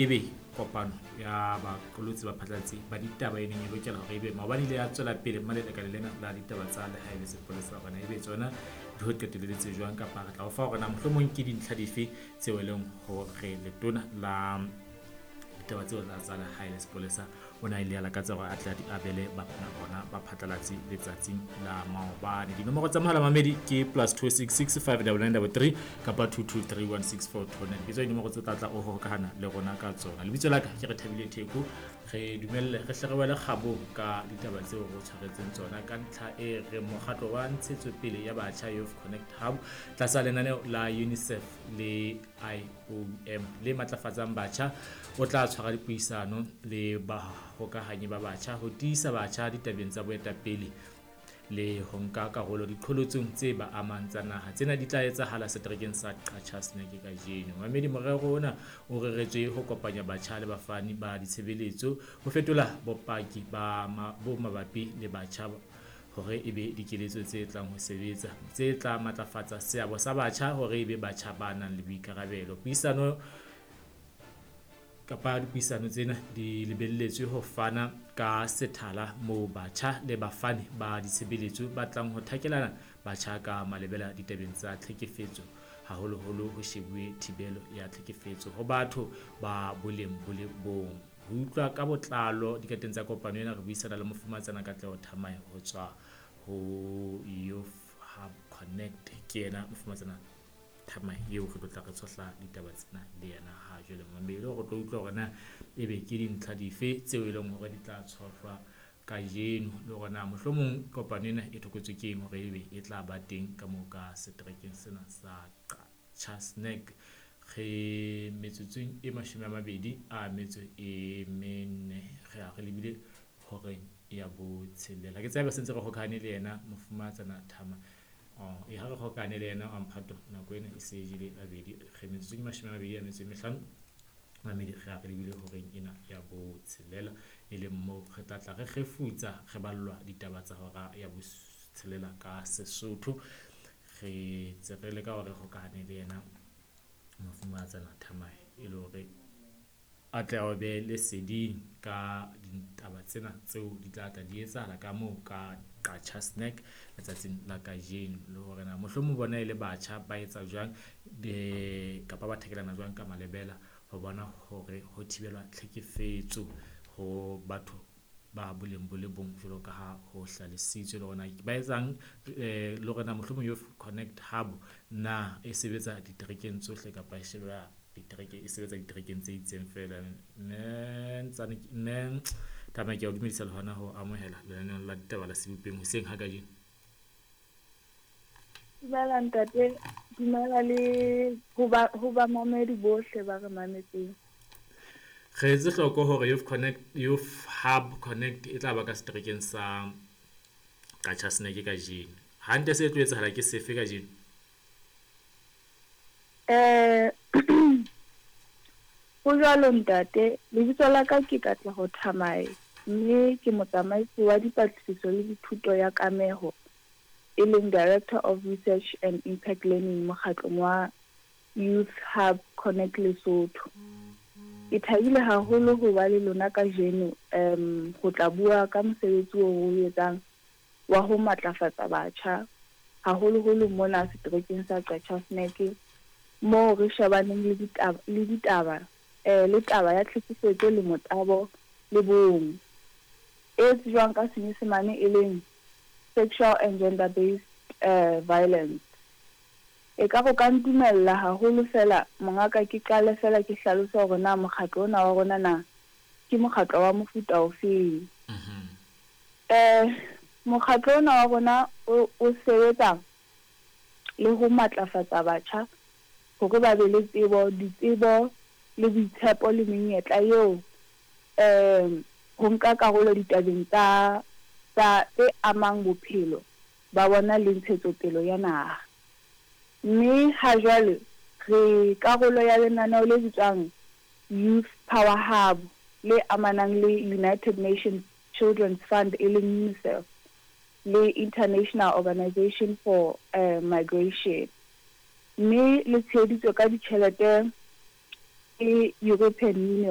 Ebe kopano ya baqolotsi ba phatlalatsi ba ditaba e neng e lokela hore ebe maobane ile ya tswela pele mma lelekane lena la ditaba tsa lehae le sepolesa hore na ebe tsona di ho qeteletse jwang, kapa re tla o fa hore na mohlomong ke dintlha dife tseo e leng hore letona la ditaba tseo tsa lehae le sepolesa o ne a ile a lakatsa hore a tle a di abele bona baphatlalatsi letsatsing la maobane. Dinomoro tsa mohala mamedi ke plus 266 599 kapa 2231642. Ke tsona dinomoro tse tla tla o hokahana le rona ka tsona. Lebitso la ka ke re Thabile Theko. Re dumelle re hle re wele kgabong ka ditaba tseo re tshwaretseng tsona ka ntlha e re mokgatlo wa ntshetsopele ya batjha Youth Connect Hub tlasa lenaneo la UNICEF le IOM le matlafatsang batjha o tla tshwara dipuisano le bahokahanyi ba batjha ho tiisa batjha ditabeng tsa boetapele le ho nka karolo diqholotsong tse ba amang tsa naha. Tsena di tla etsahala seterekeng sa Qacha's Nek kajeno. Mamedi, morero ona o reretswe ho kopanya batjha le bafani ba ditshebeletso ho fetola bopaki ba bo mabapi le batjha hore e be dikeletso tse tlang ho sebetsa tse tla matlafatsa seabo sa batjha hore e be batjha ba nang le boikarabelo. Puisano kapa dipuisano tsena di lebelletswe ho fana ka sethala moo batjha le bafani ba ditshebeletso ba tlang ho thakelana batjha ka malebela ditabeng tsa tlhekefetso, haholoholo ho shebuwe thibelo ya tlhekefetso ho batho ba boleng bo le bong. Ho utlwa ka botlalo dikateng tsa kopano ena, re buisana le Mofumatsana Katleho Thamae ho tswa ho Youth Hub Connect. Ke yena Mofumatsana Thamae eo re tlo tla re tshohla ditaba tsena le yena ha jwale. Mamedi, re tlo utlwa hore na ebe ke dintlha dife tseo e leng hore di tla tshohlwa kajeno, le hore na mohlomong kopano ena e thokotswe ke eng hore ebe e tla ba teng ka moo ka seterekeng sena sa Qacha's Nek. Re metsotsong e 24, re a re lebile horeng ya botshelela. Ke tsebe se ntse re hokahane le yena Mofumatsana Thama. E ha re hokahane le yena wa mphato, nako ena e se jele babedi. Re metsotsong e 25, mamedi, re a re lebile horeng ena ya botshelela, e leng moo re tla tla re kgefutsa re ballwa ditaba tsa hora ya botshelela ka Sesotho. Re tse re leka hore re hokahane le yena Mofumatsana Thamae e le hore a tle a be leseding ka ditaba tsena tseo di tla tla di etsahala ka moo ka Qacha's Nek letsatsing la kajeno, le hore na mohlomong bona e le batjha ba etsa jwang kapa ba thakelana jwang ka malebela ho bona hore ho thibelwa tlhekefetso ho batho ba boleng bo le bong jwalo ka ha ho hlalositswe, le hore na ba etsang, le hore na mohlomong Youth Connect Hub na e sebetsa diterekeng tsohle kapa e sheba ditereke e sebetsa diterekeng tse itseng feela. Mme Ntsane, mme Thamae, ke a o dumedisa le hona ho amohela lenaneong la ditaba la Sebopeng hoseng ha kajeno. Dumela ntate, dumela le ho ba mamedi bohle ba re mametseng. Re etse hloko hore Youth Connect, Youth Hub Connect e tla ba ka seterekeng sa Qacha's Nek kajeno. Hantle se tlo etsahala ke sefe kajeno? Ho jwalo ntate, lebitso la ka ke Katleho Thamae, mme ke motsamaisi wa dipatlisiso le dithuto ya kameho, e leng Director of Research and Impact Learning mokgatlong wa Youth Hub Connect Lesotho. Ke thabile haholo ho ba le lona kajeno ho tla bua ka mosebetsi oo re o etsang wa ho matlafatsa batjha, haholoholo mona seterekeng sa Qacha's Nek, moo re shebaneng le ditaba le ditaba le taba ya tlhekefetso le motabo le bong, e tsejwang ka Senyesemane e leng sexual and gender-based violence. Ekare o ka ntumella haholo feela mongaka ke qale feela ke hlalose hore na mokgatlo ona wa rona na ke mokgatlo wa mofuta ofeng. Mokgatlo ona wa rona o sebetsa le ho matlafatsa batjha hore ba be le tsebo, ditsebo le boitshepo le menyetla eo ho nka karolo ditabeng tsa tsa tse amang bophelo ba bona le ntshetsopele ya naha. Mme ha jwale re karolo ya lenaneo le bitswang Youth Power Hub le amanang le United Nations Children's Fund e leng UNICEF le International Organization for Migration, mme le tsheheditswe ka ditjhelete Ke European Union.